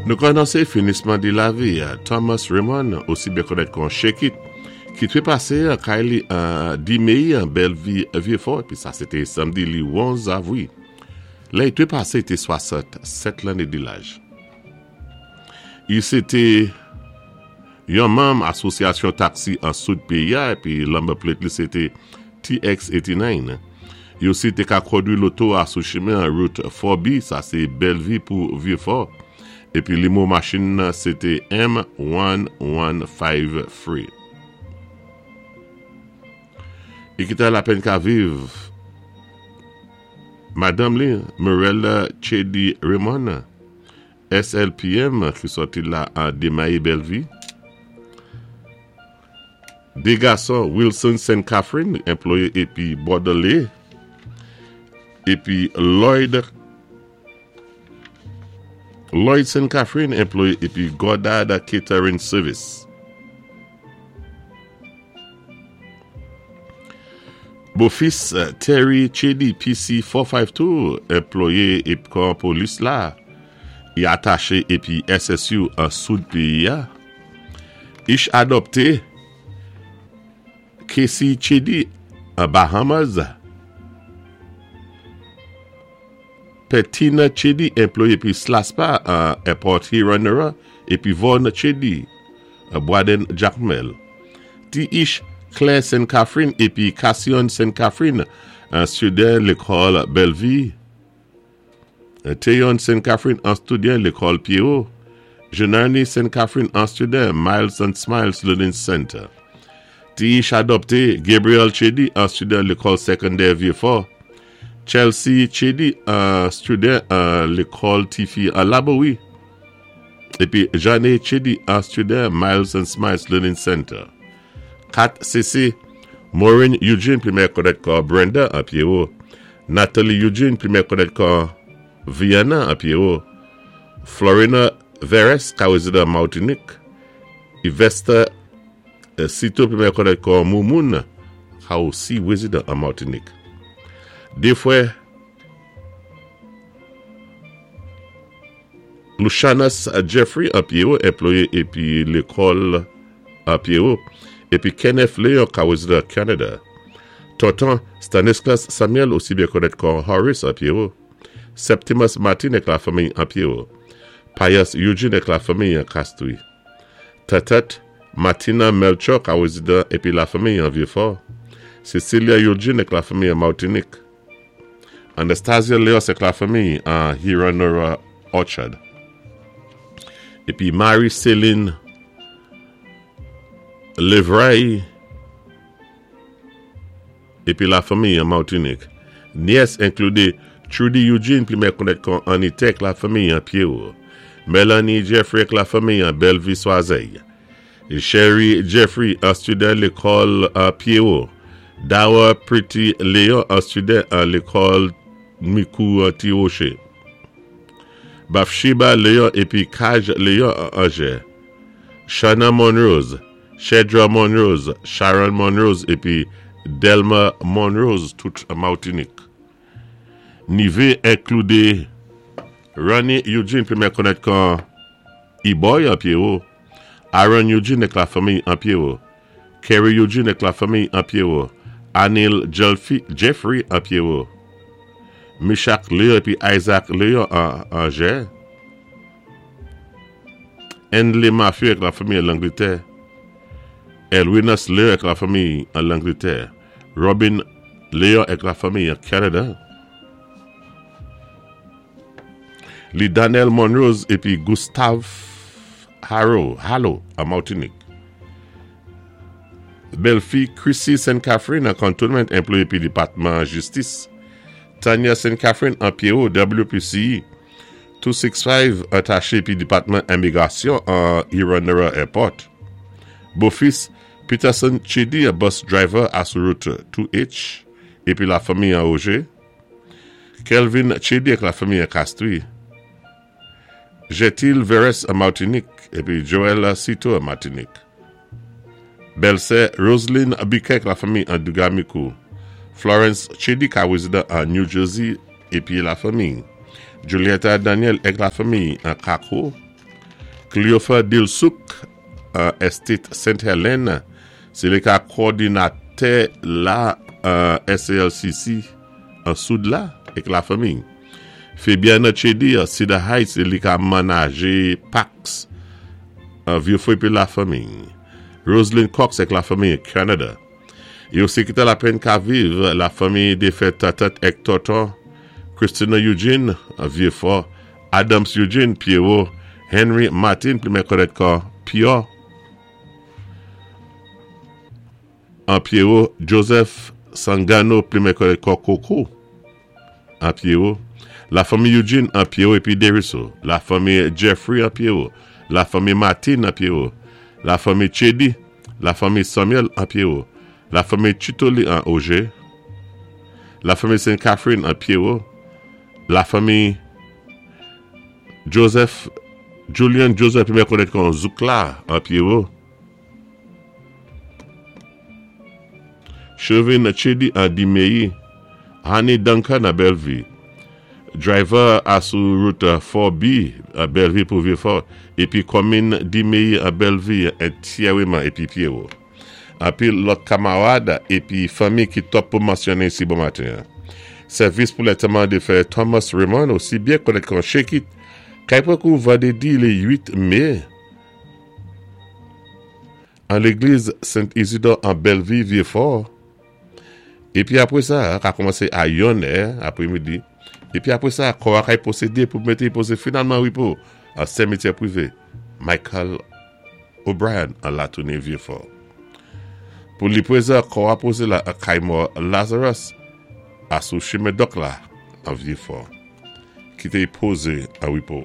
Nou ka anonsé finisman di lavi Thomas Raymond, osi byen konnèt kon Shake It, ki trepasé an kay li an 10 mé an Bèlvi Vyefò, épi sa sé té samdi li 11 avwi. Lè i trepasé i té 67 lanné di laj. I sé té yon manm asosyasyon taksi an soud péyi a épi number plate li sé té TX89. I osi té ka kondwi loto a sou chimen an Route 4B, sa sé Bèlvi pou Vyefò, épi limwo machin nan sé té M1153. I kité lapèn ka viv madanm li, Murella Chedy Raymond, SLPM ki sòti la an Demayi Bèlvi. De gason Wilson Saint Catherine enploye epi Bordelais epi Lloyd Lloyd Saint Catherine enploye epi Goddard Catering Service. Bofis Terry Chedy PC 452 enploye ep kò polis la i atache epi SSU an soud peyi a. Ich adopte Casey Chedy an Bahamas. Pè Tina Chedy enploye epi SLASPA an Airport Hewanorra epi Vaughn Chedy Bwaden Jakmèl. Ti Ich Claire Sen Catherine epi Cassion Sen Catherine student lekòl Bèlvi. Théon Sen Catherine an student lekòl Pierrot. Jenarnie Sen Catherine an student Miles and Smiles Learning Center. Ti Ich adopte Gabriel Chedy an student lekòl sekondè Vieux-Fort. Chelsea Chedy an student lekòl tifi an Labowi. Epi Jeanne Chedy an student Miles and Smiles Learning Center. 4 cc Maureen Eugene pi mè konnèt kò Brenda an Pierrot. Nathalie Eugene pi mè konnèt kò Viana an Pierrot. Florina Veres ka rezidan Martinique. Yvesta Cito pi mè konnèt kò Moumoun ka osi rezidan an Martinique. De frè Lucianus Jeffrey an Pierrot enploye epi lekòl an Pierrot epi Kenneth Léon ka rezidan Canada. Tonton Stanislas Samuel osi byen konnèt kò Horace an Pierrot. Septimus Martin ak lafanmiy an Pierrot. Pius Eugene ak lafanmiy an Castries. Tatat Martina Melchor ka rezidan epi lafanmiy an Vieux-Fort. Cecilia Eugene ak lafanmiy an Martinique. Anastasia Leos ak lafanmiy an Hewanorra Orchard. Epi Marie Céline Levraille epi lafanmiy an Martinique. Nyès enklude Trudy Eugene pi mè konnèt kon Anite ak lafanmiy an Pierrot. Melanie Jeffrey ak lafanmiy an Bellevue Soiseil. Sherry Jeffrey an student lekòl Pierrot. Dower Pretty Léon an student an lekòl Mikou Ti Rocher. Bathsheba Léon epi Kaj Léon an Angers. Shana Monrose, Shedra Monrose, Sharon Monrose epi Delma Monrose tout Martinique. Nive enklude Ronnie Eugene pi mè konnèt kon E-Boy an Pierrot. Aaron Eugene ak lafanmiy an Pierrot. Kerry Eugene ak lafanmiy an Pierrot. Anil Jeffrey an Pierrot. Michak Léon epi Isaac Léon an Angers. Endley Matthew ak lafanmiy an Langletè. Elwinas Léon ak lafanmiy an Langletè. Robin Léon ak lafanmiy an Canada. Li Daniel Monrose epi Gustave Harrow, Hallo, an Martinique. Bèlfi Chrissy St. Catherine an Cantonment enploye pi Depatman Jistis. Tanya St. Catherine an Pierrot, WPCE 265 atache pi Depatman Imigrasyon an Hewanorra Airport. Bofis Peterson Chedy an bus driver a sou route 2H epi lafanmi an Roger. Kelvin Chedy ak lafanmi an Castries. Jetil Veres an Martinique epi Joel Citeaux an Martinique. Bèlsè Roseline Biquet ak lafanmi an Dugamico. Florence Chedy ka rezidan an New Jersey epi lafanmi. Julietta Daniel ak lafanmi an Kako. Cleopha Dilsuk an Estate Saint Helene, sé li ka kòdinatè la an SALCC an Soud la èk la fanmiy. Fabiana Chedy an Cedar Heights, sé li ka manajé Pax an Vieux-Fort épi la fanmiy. Roseline Cox èk la fanmiy an Canada. Yo sekitè lapenn ka viv la fanmiy defè Tatat èk Tòtò, Christina Eugene an Vieux-Fort, Adams Eugene, Pierrot, Henry Martin plimen kònèt kò Pyò an Pierrot, Joseph Sangano plimen kònèt kò Koko an Pierrot, la fanmi Eugene an Pierrot epi Deriso, la fanmi Jeffrey an Pierrot, la fanmi Martin an Pierrot, la fanmi Chedy, la fanmi Samuel an Pierrot, la fanmi Chitoli an Auger, la fanmi Saint Catherine an Pierrot, La fanmi Joseph, Julian Joseph pi mè konèt kon Zoukla an Pierrot. Chauvin Chedy an Dimeyi, Honey Duncan an Bellevue. Driver a sou route 4B an Bellevue pou Vieux-Fort épi kòmin Dimeyi an Bellevue entyèreman épi Pierrot. Anpil lòt kamarad epi fanmi ki twòp pou mansyone isi bon maten an. Sèvis pou lètèman defen Thomas Raymond osi byen konèt kon Shake It kay pran kou vandredi le 8 me an legliz Sent Isidò an Bèlvi Vyefò epi apre sa ka kòmanse a yon è apre midi epi apre sa kò a kay pwosede pou mete poze finalman repo an semityè prive Michael O'Brien an Latouni Vyefò. Pou li prezan kò a poze la an kay mò Lazarus a sou chimen Dòk la an Vyefò. Kite y poze an repo.